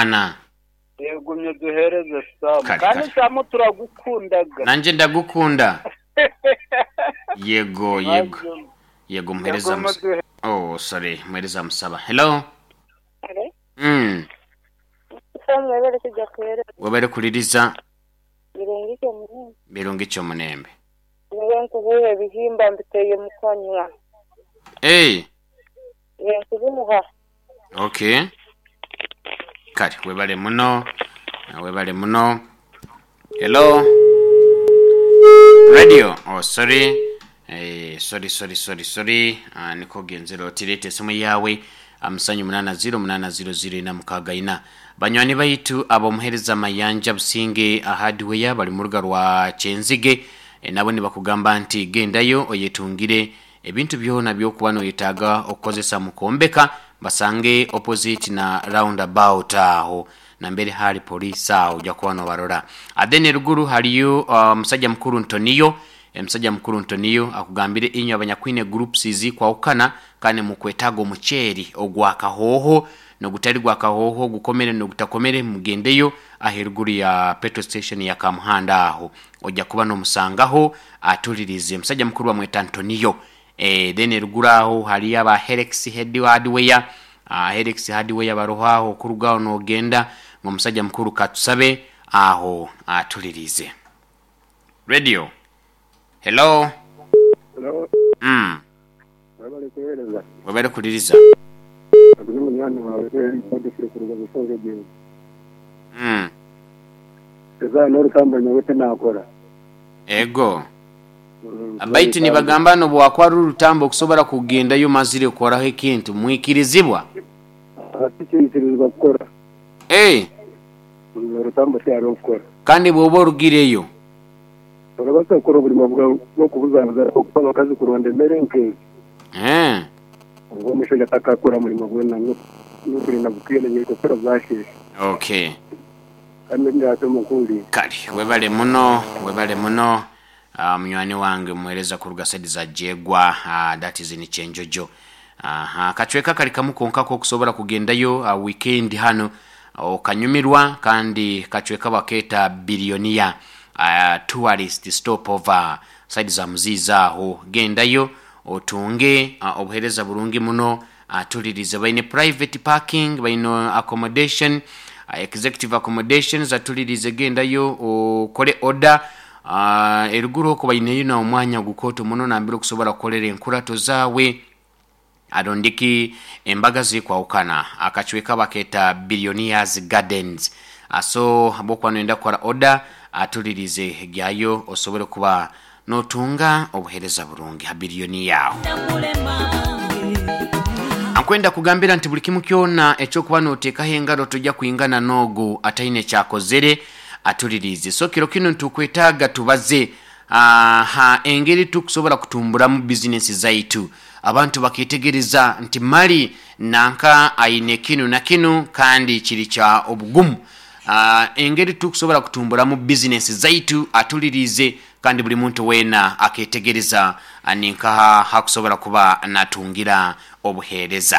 Ana. Yegumye duhereze Samu. Kare, Kandi kare. Samu turagukundaga. Nanje ndagukunda. Yego, yego. Maze- Yego muhereza Yego, musa. muduhe- Oh, sorry, muhereza musaba. Hello. Hello? Mm. Samu webale kujja kuweereza. Webale kuliriza Birungi kyo munene. birungi kyo munembe. Niwe nkubuha ebihimba mbiteeye mu kanywa. Hey, Iwe nkubimuha. okay. Kale webale muno. Webale muno. Hello. Radio. Oh, sorry. Sorry, sorry, sorry, sorry. Niko genzero otirete esimu yawe amusanyu 8080064. Banywani baitu abomuhereza Mayanja Businge Hardware bali mu ruga rwa Kyenzige, nabo nibakugamba nti gendayo oyetungire ebintu byona byokuba noyetaaga okukozesa mu kwombeka, basange opposite na roundabout aho nambere hali poliisi aho ojja kuba nobarora. Then eruguru haliyo musajja mukuru Ntoniyo. Omusajja mukuru Ntoniyo akugambire inywe abanyakwine groups zikwawukana kandi mukwetaaga omuceeri ogwa kahooho nogutali gwa kahooho gukomere nogutakomere, mugendeyo aheruguru ya petrol station ya Kamuhanda aho ojja kuba nomusangaho atulirize. Omusajja mukuru bamweta Ntoniyo. Then eruguru aho haliyo aba Helix Head Hardware. Helix Hardware baroho aho okurugaho nogenda ng'omusajja mukuru katusabe aho atulirize. Radio. Hello. Hello, webale kuweereza. Webale kuliriza. Aguze munywani wawe odufire kuruga Busoga gye. Eza n'orutamba nyowe tinakora. Ego. Baitu nibagamba nobwakwara orutambo okusobora kugendayo mazire kukoraho ekintu mwikirizibwa. Tikiikirizibwa kukora. Hey, Orutambo tihariho kukora. kandi bwoba orugireyo Orabaasa kukora oburimo bw'okubuzabuza okupa abakazi kuronda emere nk'ezi. Obwo omushaija atakakora murimo gwona n'okurinda bukwiire kukora bwasheesha. Okay. Kandi ndihati omukuuriire. Kale webale muno, webale muno. Munywani wange muhereza kuruga side za Jegwa, that is in Kyenjojo. Aha, kacweka kali kamu konka kokusobora kugendayo weekend hano okanyumirwa, kandi kacweka baketa Billionaire tourist stopover side za Muziiza aho gendayo otunge obuhereza burungi muno. Tulirize baine private parking, baine accommodation, executive accommodations. Atulirize gendayo okole order. Eruguru okwo baineyo na omwanya gukooto muno nambere okusobora kukolera enkurato zaawe arondiki embaga zikwawukana. Akacweka baketa Billionaires Gardens. So bwokuba noyenda kukora order atulirize gyayo osobole kuba notunga obuhereza burungi ha biliyoni yawe. Ankwenda kugambira nti buli kimu kyona ekyokuba noteekaho engaro tojja kwingana n'ogu ataine kyakozere. Atulirize so kiro kino ntukwetaaga tubaze ha engeri tukusobora kutumburamu bizinesi zaitu. Abantu baketegereza nti mali nanka aine kinu na kinu kandi kiri kya obugumu. Engeri tukusobora kutumburamu bizinesi zaitu atulirize, kandi buli muntu weena aketegereza ninkaha hakusobora kuba natungira obuheereza.